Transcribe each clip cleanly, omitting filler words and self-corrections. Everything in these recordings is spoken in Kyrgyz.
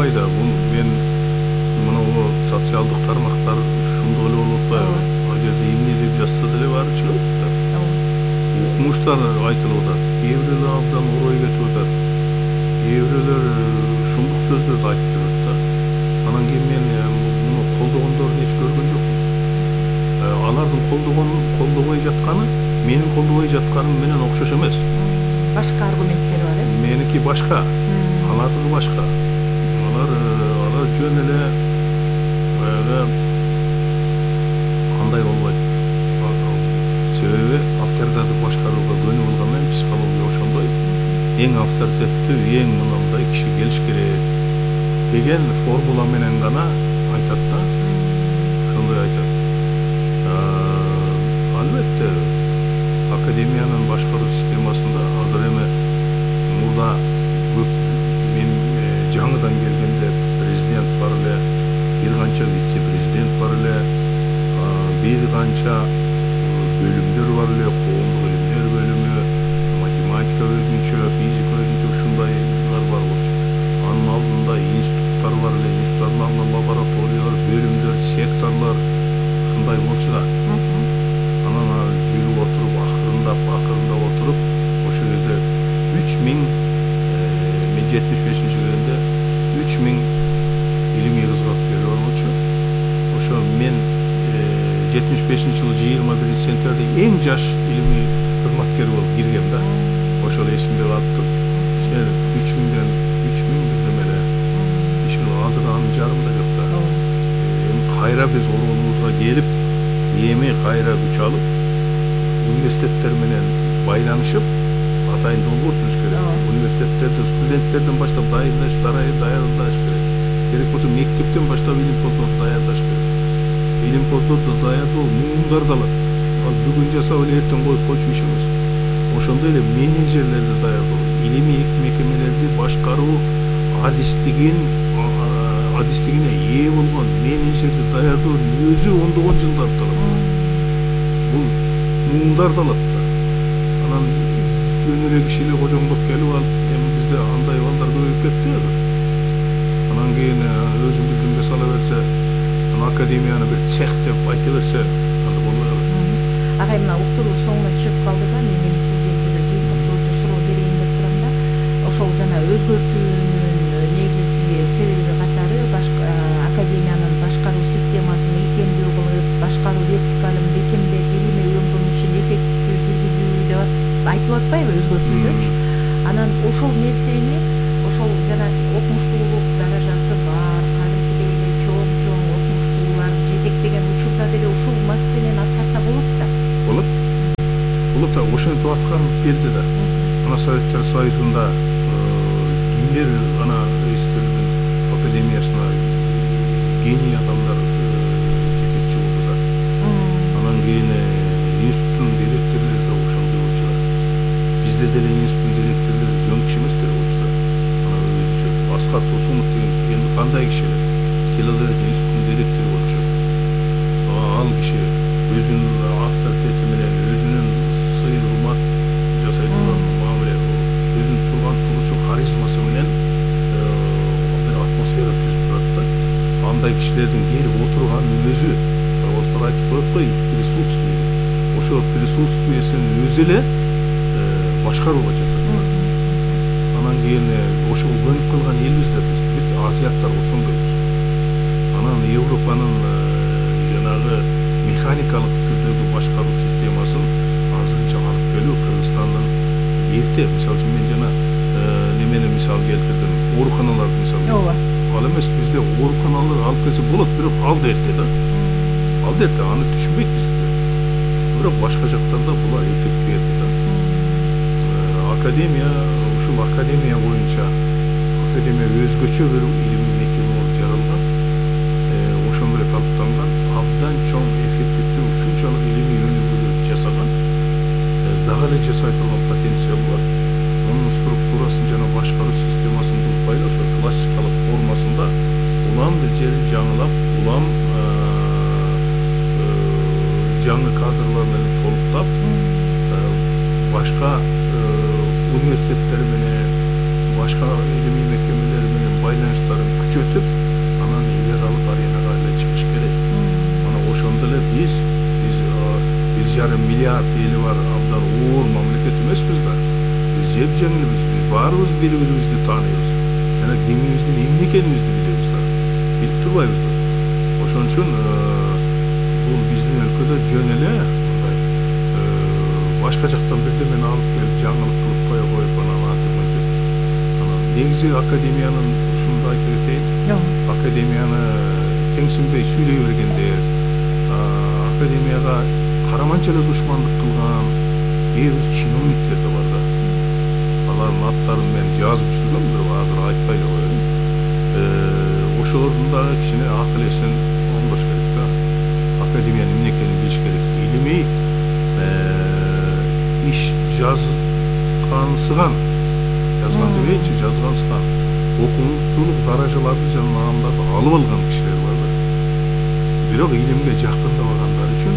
албай да. Бул мен мына социалдык тармактар ушундой эле болуп атпайбы? Ал жерде эмне деп жазса деле баары чыгат да. Укмуштар айтылып атат. Кээ бирөөлөр абдан орой кетип атат. Кээ бирөөлөр шумдук сөздөрдү айтып жүрөт да. Анан кийин мен муну колдогондорун эч көргөн жокмун. Алардын колдобой жатканы менин колдобой жатканым менен окшош эмес. Башка аргументтери бар, Меники башка, алардыгы башка. Алар жөн эле баягы кандай болбойт. Себеби автордарды башкарууга көнүп алгандан психология ошондой. Эң авторитеттүү, эң мындай киши келиш керек деген формула менен гана айтат да. Ошондой айтат. Албетте академиянын башкаруу системасында азыр эми мурда көп мен жаңыдан келгенде президент бар эле, бир канча вице-президент бар эле, бир канча бөлүмдөр бар эле, коомдук илимдер бөлүмү, математика өзүнчө, физика өзүнчө ушундайлар бар болчу. Анын алдында институттар бар эле, институттардын алдында лабораториялар, бөлүмдөр, секторлор ушундай болчу да. Анан жүрүп отуруп, акырындап отуруп, ошол кезде 3000 мен 75-жылы келгенде 3000 илимий кызматкер болчу. Ошо мен 75-жылы 21-сентябрда эң жаш илимий кызматкер болуп киргем да. Ошол эсимде калыптыр. 3000 бирдемеле. Азыр анын жарымы да жок да. Эми кайра биз оролубузга келип, эми кайра күч алып, университеттер менен байланышып, атайын долбоор түзүш керек. Университеттерде студенттерден баштап даярдаш керек. Керек болсо мектептен баштап илим-поздорду даярдаш керек. Илим-поздорду даярдоо муундар калат. Ал бүгүн жасап эле эртең коюп койчу иш эмес. Ошондой эле менеджерлерди даярдоо, илимий мекемелерди башкаруу адистигине ээ болгон менеджерди даярдоонун өзү ондогон жылдарды алат. Бул муундар алат да. Анан жөн эле кишилер кожоңдоп келип алып, эми бизде андай балдар көбөйүп кетти азыр. Анан кийин өзүн билгенге сала берсе, академияны бир цех деп айта берсе, анда болбой калат. Агай, мына уктуруу соңуна чыгып калды да, мен эми сизге бир жыйынтыктоочу суроо берейин деп турам да. Ошол жана өзгөртүүнүн негизги себеби катары академиянын башкаруу системасын ийкемдүү кылып, башкаруу вертикалын бекемдеп, илимий уюмдун ишин эффективдүү жүргүзүү деп айтылып атпайбы өзгөртүүлөрчү. Анан ошол нерсени, ошол жана окумуштуулук даражасы бар, кадимкидей эле чоң окумуштуулар жетектеген учурда деле ушул маселени аткарса болот да. Болот да, ошентип аткарып келди да. Ана Советтер Союзунда кимдер ана академиясына гений адамдар жетекчи болду да. Анан кийин институттун директорлору да ошондой болчу да. Бизде деле институттун директорлору жөн киши эместер болчу да. Анан өзүнчө Аскар Турсунов деген кандай киши эле? Филология институттунун директору болчу. Ал киши өзүнүн авторитети менен, өзүнүн сый урмат жасай турган мамиле, өзүнүн турган турушу, харизмасы менен бир атмосфера түзүп турат да. Андай кишилердин келип отурганын өзү, орустар айтып коет го, присутствие. Ошо присутствиесинин өзү эле башкарууга жатат. Анан кийин ошого көнүп калган элбиз да биз, бүт азиаттар ошондойбуз. Анан Европанын жанагы механикалык түрдөгү башкаруу системасын азырынча алып келүү Кыргызстандын эрте, мисалы үчүн мен жана немени мисал келтирдим, ооруканаларды мисал. Ооба. Ал эмес, бизде ооруканалар алып келсе болот, бирок ал да эрте да. Ал да эрте, аны түшүнбөйт бизде. Бирок башка жактарда булар эффект берди да. Академия, ушул академия боюнча, академия өзгөчө бир илимий мекеме болуп жаралган. Ошондой калыптанган, абдан чоң эффективдүү, ушунчалык илимий өнүгүүлөрдү жасаган, дагы эле жасай турган потенциалы бар. Мунун структурасын жана башкаруу системасын бузбай эле ошо классикалык формасында улам бир жерин жаңылап, улам жаңы кадрлар менен толуктап, башка университеттер менен, башка илимий мекемелер менен байланыштарын күчөтүп анан эл аралык аренага эле чыгыш керек. Мына ошондо эле биз 1,5 миллиард эли бар абдан оор мамлекет эмеспиз да. Биз жеп-жеңилбиз, биз баарыбыз бири-бирибизди тааныйбыз жана кимибиздин эмне экенибизди билебиз да. Билип турбайбызбы? Ошон үчүн бул биздин өлкөдө жөн эле мындай башка жактан бирдемени алып келип жаңылык кылып кое коюп анан антип анан негизи академиянын ушунду айтып кетейин. Академияны теңсинбей сүйлөй бергендер, академияга караманча эле душмандык кылган кээ бир чиновниктер да бар да. Алардын аттарын мен жазып жүргөм, бирок азыр айтпай эле коеюн. Ошолордун дагы кичине акыл эсин оңдош керек да. Академиянын эмне экенин билиш керек. Илимий иш жазгансыган дебейинчи, жазгансыган окумуштуулук даражаларды жана наамдарды алып алган кишилер бар да. Бирок илимге жакындабагандар үчүн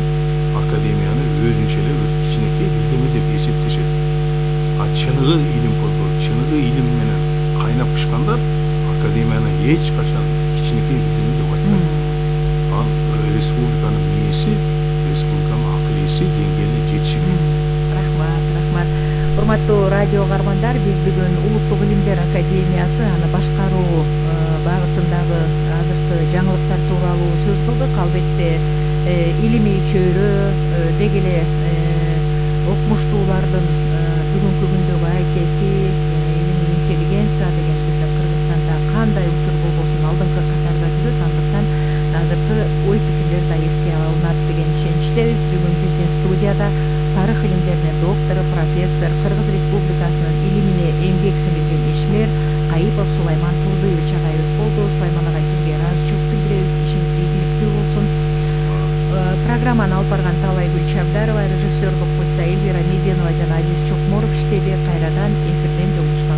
академияны өзүнчө эле бир кичинекей бирдеме деп эсептешет. Чыныгы илимпоздор, чыныгы илим менен кайнап бышкандар академияны эч качан кичинекей бирдеме деп айтпайт. Ал республиканын мээси, республиканын акыл эси деңгээлине жетиши керек. Рахмат. Урматтуу радио каармандар, биз бүгүн Улуттук илимдер академиясы аны башкаруу багытындагы азыркы жаңылыктар тууралуу сөз кылдык. Албетте илимий чөйрө деги эле окумуштуулардын бүгүнкү күндөгү аракети, илимий интеллигенция деген биздин Кыргызстанда кандай учур болбосун алдыңкы катарда жүрөт. Андыктан азыркы ой пикирлер да эске алынат деген ишеничтебиз. Бүгүн биздин студияда тарых илимдеринин доктору, профессор, Кыргыз Республикасынын илимине эмгек сиңирген ишмер Кайыпов Сулайман Турдуевич агайыбыз болду. Сулайман агай, сизге ыраазычылык билдиребиз. Ишиңиз ийгиликтүү болсун. Программаны алып барган Таалайгүл Чабдарова, режиссерлук пультта Эльвира Меденова жана Азиз Чокморов иштеди. Кайрадан эфирден жолугушкан